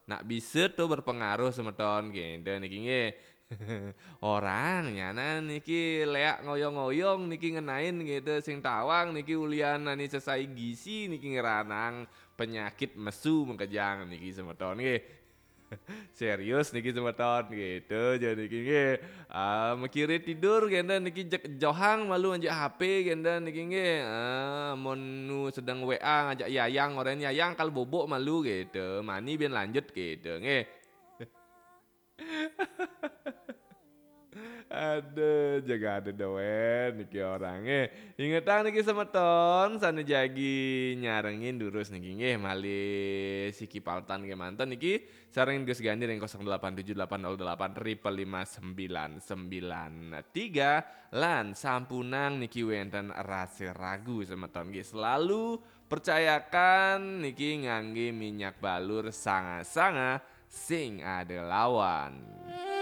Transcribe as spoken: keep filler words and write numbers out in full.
Nak bisa tuh berpengaruh semeton gitu niki nggih. Orang nyana niki leak ngoyong-ngoyong niki ngenain gitu, sing tawang niki ulian nani sesai gisi niki ngeranang penyakit mesu mengkejang niki semeton nggih. Serius niki semeton gitu, jadi niki nggih. Ah, mekire tidur genda niki jek johang malu anjak H P genda niki nggih. Ah, mun nu sedang W A ngajak yayang, orang yayang kal bobok malu gitu. Mani ben lanjut gitu nggih. Aduh, jaga ada doen niki orang eh. Ingetang niki semeton, sana jagi nyarengin durus niki nggih, malih siki paltan nggih manten niki sareng Gus Gandhi ring kosong delapan tujuh delapan nol delapan triple lima sembilan sembilan tiga, lan sampunang niki wenten rasa ragu semeton nggih, selalu percayakan niki ngangge minyak balur sanga-sanga sing ada lawan.